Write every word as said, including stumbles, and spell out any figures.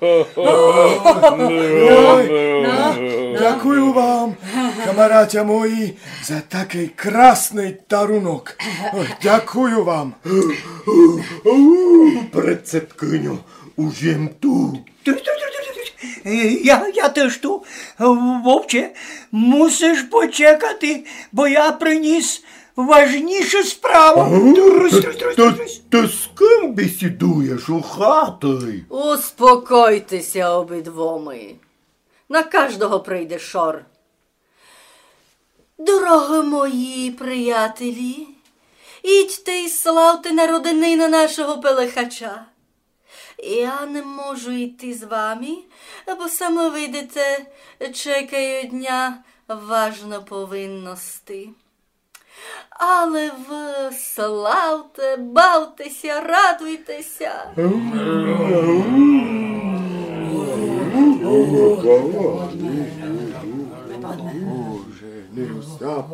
Ой, дякую вам, камаратя мої, за такый красный дарунок. Ой, дякую вам. Председкиню, уж єм ту. Е, я, я тыж ту. Вовче, мусиш почекати, бо я приніс важнішу справу. Ага. Трус, трус, трус, трус. Ты з ким бесідуєш у хати? Успокойте ся обидвома. На каждого прийде шор. Дорогы мої приятелі, ідьте й славте народенины нашого Пелехача. Я не можу йти з вами, бо, сами видите, чекають ня важны повинности. Але вы славте, бавте ся, радуйте ся.